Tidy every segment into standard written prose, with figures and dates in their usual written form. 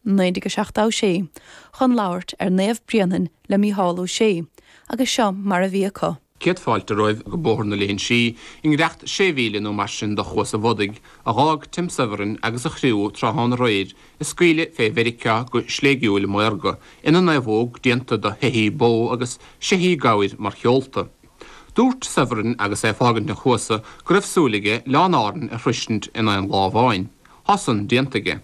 1976 chun labhairt ar Naomh Bréanainn le Mícheál Ó Sé agus seo mar a bhí acu. Céad fáilte romhaibh go Bóthar na Léinsí, i ngiorracht sé mhíle nó mar sin do Chuas an Bhodaigh, a dh'fhág Tim Severin agus a chriú tráthnóna aréir ag scaoileadh fé Mheiriceá go sléigiúil maorga, ina naomhóg déanta de sheithí bó agus seithí gabhair mar sheolta. Dúirt Severin agus é ag fágaint an chuasa go raibh súil aige Oileáin Árann a shroisint in aon lá amháin. Thá san déanta aige.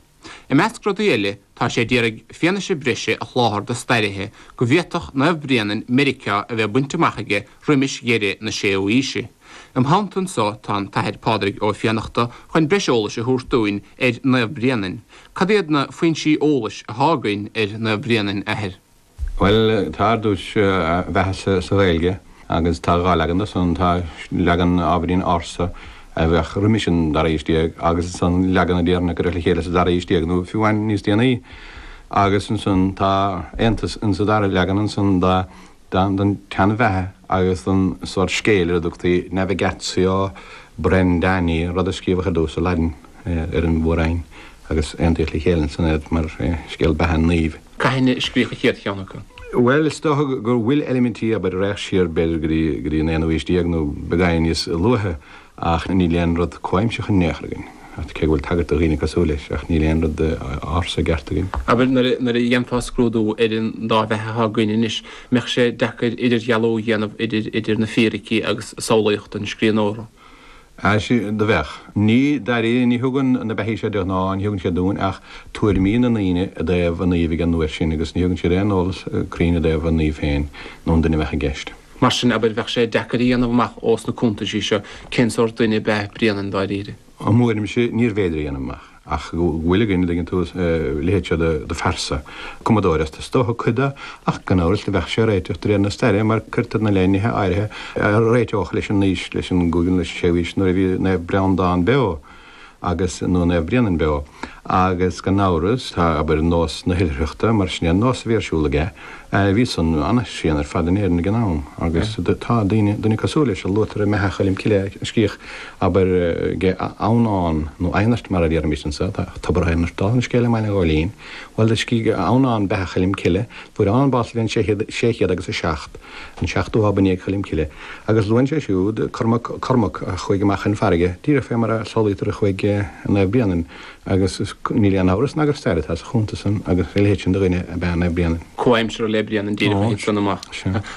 I measc rudaí eile, tá sé d'iarraidh fianaise breise a sholáthar do stairithe go bhféadfadh Naomh Bréanainn Meiriceá a bheith bainte amach aige roimis dheireadh na séú aoise. Im theannta anso tá an tAthair Pádraig Ó Fiannachta chun breis eolais a thabhairt dúinn ar Naomh Bréanainn. Cad iad na foinsí eolais athá againn ar Naomh Bréanainn, Athair? Bhuel, tá ar dtús a bheatha sa Ghaeilge agus tá dhá leagan de san, tá leagan ábhairín ársa a bheadh roimis an dara haois déag agus ansan leagan a déarfainn a cuireadh le chéile sa dara haois déag nó fiú amháin níos déanaí. Agus ansan tá aontas insa dara leagan ansan don tseanbheatha agus don sórt scéil ar a dtugtaí Navigatio Brendani, rud a scríobhadh ar dtús sa Laidin ar an Mhór-Roinn agus aontaíodh le chéile ansan iad mar scéal beatha an naoimh. Cathain a scríodh an chéad cheann acu? Bhuel, is dócha go bhfuil eilimintí, abair, a raghadh siar b'fhéidir go dtí, go dtí an aonú haois déag nó beagáinín níos luaithe ach níl aon rud comhaimseartha in aon chor againn. Ach cé go bhfuil tagairt do dhaoine cosúil leis ach níl aon rud ársa i gceart againn. Abair, nuair a, nuair a dhéanfá scrúdú ar an dá bheatha atá againn anois, mbeadh sé deacair idirdhealú a dhéanamh idir, idir na fíricí agus samhlaíocht an scríbhneora? Sea, do bheadh. Ní, dáiríre, ní thugann na beathaí seo de ghnáth, ní thugann siad dúinn ach tuairimí na ndaoine i dtaobh an naoimh ag an uair sin agus ní thugann siad aon eolas cruinn i dtaobh an naoimh féin nó an duine a bheadh i gceist. Mar sin, abair, bheadh sé deacair a dhéanamh amach ós na cuntaisí seo cén sórt duine ab ea Bréanainn dáiríre. I m'thuairimse, níorbh fhéidir a dhéanamh amach. Ach go bhfuil againn, an dtuigeann tú, a leithéid seo de phearsa. Cumadóir is dócha cuid de, ach gan amhras do bheadh sé réiteach de réir na staire mar cuirtear ina leith nithe áirithe a réiteodh leis an aois, leis an gcúigiú nó leis an séú haois nuair a bhí Naomh Breandán beo agus, nó Naomh Bréanainn beo. Agus gan amhras, tá, abair, nós na hoilithreachta, mar sin é an nós a bhí ar siúl aige, Bhí san an-tréan ar fad in Éirinn ag an am agus tá daoine, duine cosúil leis a luaitear i mBeatha Choilm Cille a scríodh, abair, ag Adhamhnán nó Adhnairt mar a déarfaimis anso, tá Tobar Adhmairt dála an scéil i mBaile an Ghóilín. Bhuel do scrígh Adhamhnán Beatha Choilm Cille, fuair Adhamhnán bás sa bhliain 600 agus 7, an seachtú lá ba i ndiaidh Choilm Cille, agus luann sé siúd Cormac, Cormac a chuaigh amach chun farraige, díreach fé mar a samhlaítear a chuaigh Naomh Bréanainn. Agus níl aon amhras ná gur stair atá sa chuntas san agus a leithéid sin de dhuine ab ea Naomh Bréanainn. Comhaimseartha le Bréanainn díreach a thit san amach.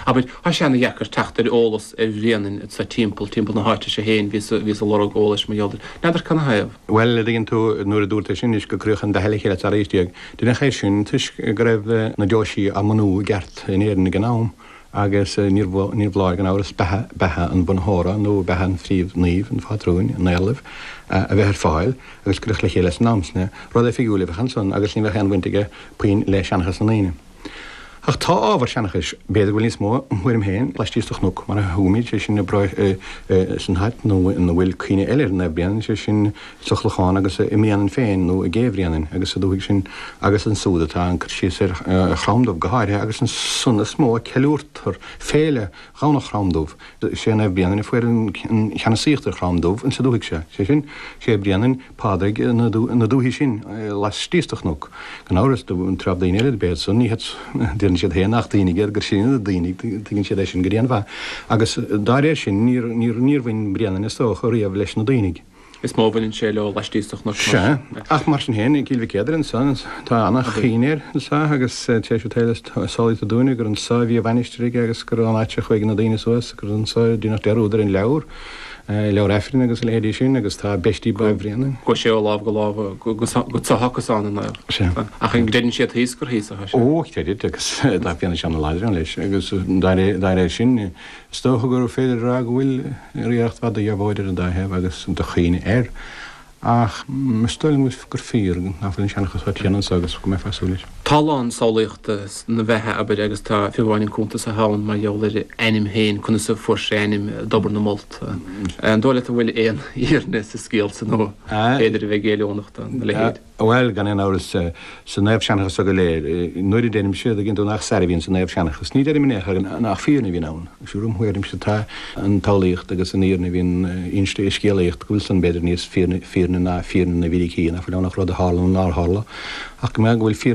Abair, tá sé ana-dheacair teacht ar eolas ar Bhréanainn anso timpeall, timpeall na háite seo féin, bhíos, bhíos ag lorg eolais mar gheall air. N'fheadar cad 'na thaobh? Bhuel, a dtuigeann tú, nuair a dúirt é sin anois go cuireadh an bheatha le chéile sa dara haois déag, deineadh é sin toisc go raibh na deoisí á mbunú i gceart in Éirinn ag an am. Agus níor bhfoláir, gan amhras, beatha, beatha an bhunaitheora nó beatha an phríomh-naoimh, an phátrúin, an éarlaimh, a bheith ar fáil, agus cuireadh le chéile san am san é. Rud oifigiúil a bheadh ansan agus ní bheadh aon bhaint aige puinn le seanchas na ndaoine. Ach tá ábhar seanchais, b'fhéidir go bhfuil níos mó, im thuairim féin, laistíos de chnoc, mar a thugaimid, sé sin, san áit ina bhfuil cuimhne eile ar Naomh Bréanainn, sé sin, sa Chlochán agus i mBréanainn féin nó i gCé Bhréanainn agus sa dúthaigh sin agus ansúd atá an cur síos ar Chrom Dubh go háirithe agus ansan is mó a ceiliúrtar féile Dhomhnach Chrom Dubh. Sé Naomh Bréanainn a fuair an cheannasaíocht ar Chrom Dubh insa dúthaigh seo, sé sin, sé Bréanainn Pádraig na dúthaí sin laistíos de chnoc. Gan amhras, do treabh daoine eile dob iad san, ní hiad, deireann siad féin nach daoine iad, gur sinne na daoine, tuigeann siad é sin go dianmhaith. Agus dá réir sin níor, níor bhain Bréanainn is dócha riamh leis na daoine. Is mó a bhaineann sé leo laistíos de chnoc mar. Sea, ach mar sin féin, i gCill Mhic Éadair anso, tá ana-chuimhne air anso agus tar éis an tsaoil is samhlaítear dúinne gur anso a bhí a mhainistir aige agus gur ón áit a chuaigh na daoine suas, gur anso a deineadh dearúd ar an leabhar, leabhar Aifrinn agus a leithéidí sin agus tá beistí Ba Bhréanainn. Chuaigh sé ó lámh go lámh go tSacasáin an naomh. Sea. Ach an gcreideann siad thíos gur thíos atá sé? Ó, creidid agus tá fianaise ana-láidir ann leis agus dá réir sin, Is dócha gur féidir a rá go bhfuil iarracht mhaith de dheabhóid ar an dá thaobh agus de chuimhne air, ach is dóigh liom gur fíor nach bhfuil an seanchas chomh tréan anso agus go mbeifeá ag súil leis. Tá a lán samhlaíochta sna bheatha, abair, agus tá fiú amháin an cuntas atá ann mar gheall ar a ainm féin, conas a fuair sé a ainm dTobar na molt. An dóigh leat an bhfuil aon fhírinne sa scéal san nó b'fhéidir a bheith géilliúnach do leithéid? Bhuel, gan aon amhras, sa naomhsheanchas so go léir, nuair a deirimse, an dtuigeann tú, nach stair a bhíonn sa naomhsheanchas, ní deirim in aon chor nach fírinne a bhíonn ann. Siúr im thuairimse tá an tsamhlaíocht agus an fhírinne a bhíonn inste i scéalaíocht, go bhfuil san b'fhéidir níos fírinne ná fírinne na bhfíricí, nach bhfuil ann ach rud a tharla nó nár tharla, ach go mbeadh, go bhfuil fírinne.